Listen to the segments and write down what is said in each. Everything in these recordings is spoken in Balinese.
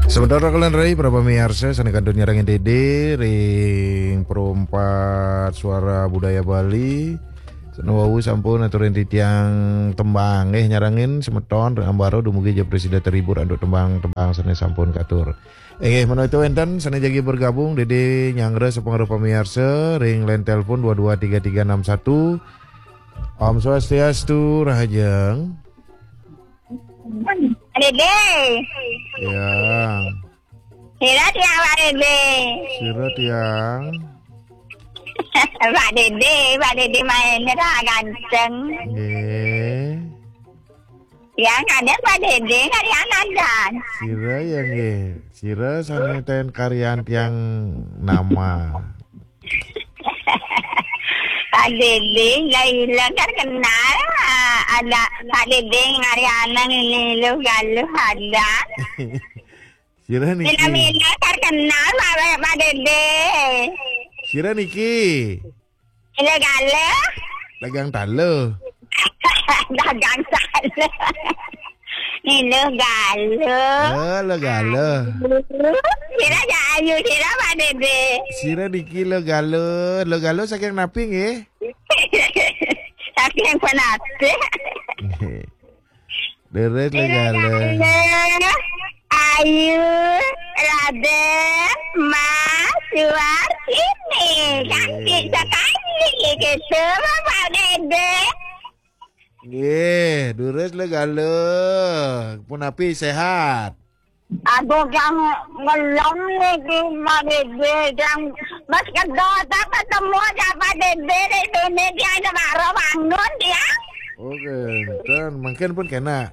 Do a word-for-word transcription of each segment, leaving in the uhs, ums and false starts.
Sementara kalian rai, para pamiarsa, sané kantun nyarengin Dédé ring Perempat Suara Budaya Bali. Sané wau sampun aturin titiang tembang, eh, nyarengin semeton ring ambara dumugi ja prasida terhibur antuk tembang-tembang sané sampun katur. Inggih, menawi wénten sané jagi bergabung, Dédé nyanggra sapangreh pamiarsa ring line telepon dua dua tiga tiga enam satu. Om Swastiastu, Rahajeng. Dédé. Ya. Sira tiang, Pak Dédé. Sira tiang. Pak Dédé, Pak Dédé main dah ganteng. Nggih. Yang ada Pak Dédé, nggak ada yang ada. Sira ya nggih. Sira sané ten karyan tiang nama. Pak Dédé, nggak hilang kan kenal. Ah, ada Pak Dédé ngarianan ini lu galuh ada. Sira niki. Mina-mina kan kenal Pak, Pak Dédé. Sira niki. Ini galuh. Dagang taluh. Dagang taluh. Ini galuh. Oh, lo galuh. Sira ja ayu, sira Pak Dédé. Sira niki lo galuh, lo galuh saking napi nggih? Saking penatih. Nggih. Leres lo galuh. Leres. Ayu, Raden, Mas, Suar, sini. Cantik sekali gitu, Bapak Dédé. Nggih, durus lo galuh. Punapi sehat? Aduh, yang ngelem niki, Pak Dédé, yang Mas Kedot apa ketemu aja Pak Dédé di sini, dia ada baru bangun dia. Oke, ten, mungkin pun kena.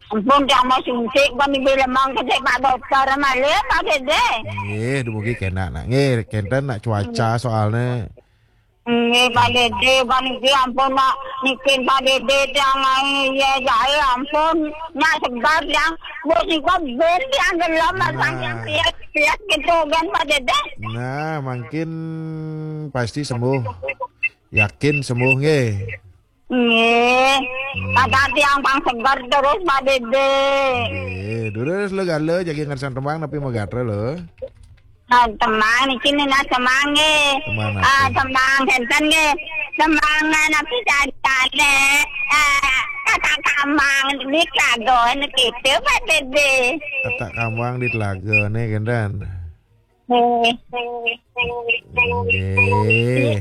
Ampun, yang mau suntik, Pak Dédé lemang ke Pak Dokter malih, Pak Dédé. Nggih, dumugi kena nak. Nggih, kenten nak cuaca soalnya. Nggih, Pak Dédé, Pak niki ampun nak nikin Pak Dédé tiang ai ya jae ampun. Nak sebar tiang bos niko ben tiang gelem. Nah. Saking pias-pias gitu kan Pak Dédé. Nah, makin pasti sembuh. Yakin sembuh nggih. Nggih. Hmm. Kata tiang pang seger terus Pak Dédé. Nggih, durus lo galuh jagi ngersan tembang napi magatra lo. Ah, tembang niki nina tembang nggih. Tembang napi? Ah, tembang senten nggih. Tembang napi cacane? Ah, kata kamang di Klagon gitu Pak Dédé. Kata kamang di Klagon nih kenten. Nggih. Nggih.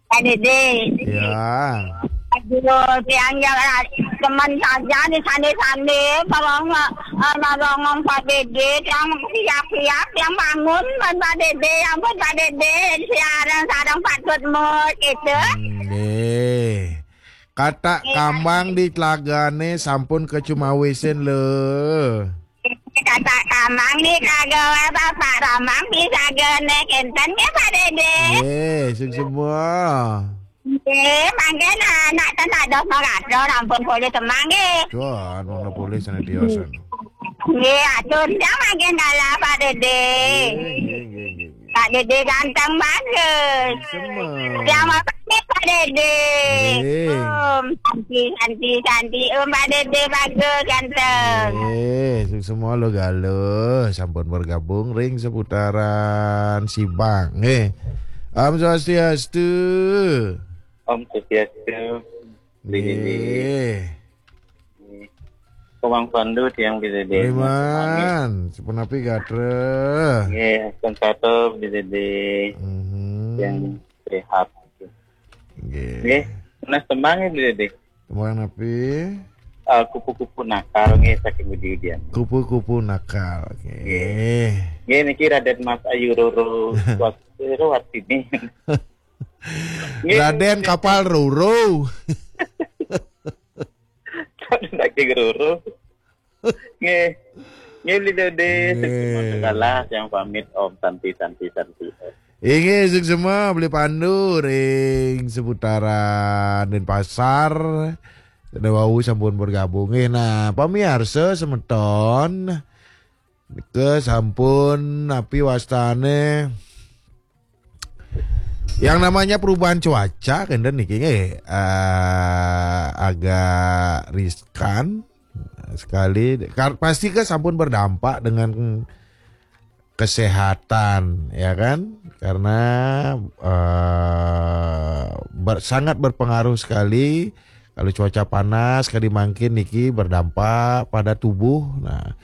Pak Dédé. Ya. Aduh, tiang ya teman saja di sandi-sandi, tolong eh, nolong Pak Dédé, tiang siap-siap, tiang bangun, Pak Dédé, ampun Pak Dédé, siarang sarang patut mut gitu. Nggih. Kata kamang di telagane sampun kecumawisin lho. Kata kamang di telagane Bapak Ramang bisa gene kenten ya Pak Dédé. Nggih, sing semua. Nggih, mangke nak ten dados maraga ampun polih semang nggih. Cuan, wong polih sane tiosan. Nggih, atur ndang mangke dalah Pak Dédé. Nggih, nggih, nggih, nggih. Pak Dédé ganteng bagus. Semua. Yang apa nih Pak Dédé? Nggih. Om, santi, santi, santi. Om, Pak Dédé bagus, ganteng. Nggih, sing semua lo galuh. Sampun bergabung ring seputaran Sibang. Nggih. Om Swastiastu. Om Swastiastu. Nggih. Komang Pandu tiang Bidadari. Riman, sepunapi gatra? Nggih, Kang Sato Bidadari. Mhm. Yang sehat. Nggih. Nggih, tunas tembang ya Bidadari. Tembang napi? Ah, kupu-kupu nakal nggih saking Budi Udian. Kupu-kupu nakal. Nggih. Nggih. Nggih niki Raden Mas Ayu Roro Wat-, Roro Watini. Nggih. Raden Kapal Roro. Raden Daging Roro. Nggih. Nggih, Beli Dede, nggih. Sukses segala yang pamit Om Santi, Santi, Santi. Inggih, sukses semua Beli Pandu ring seputaran Denpasar. Sada wau sampun bergabung. Nggih, nah, pamiarsa semeton, nika sampun napi wastane? Yang namanya perubahan cuaca kenten niki nggih, eh, agak riskan. sekali. Kar- pasti kan sampun berdampak dengan kesehatan, ya kan? Karena eh, ber- sangat berpengaruh sekali kalau cuaca panas kali mangkin niki berdampak pada tubuh. Nah,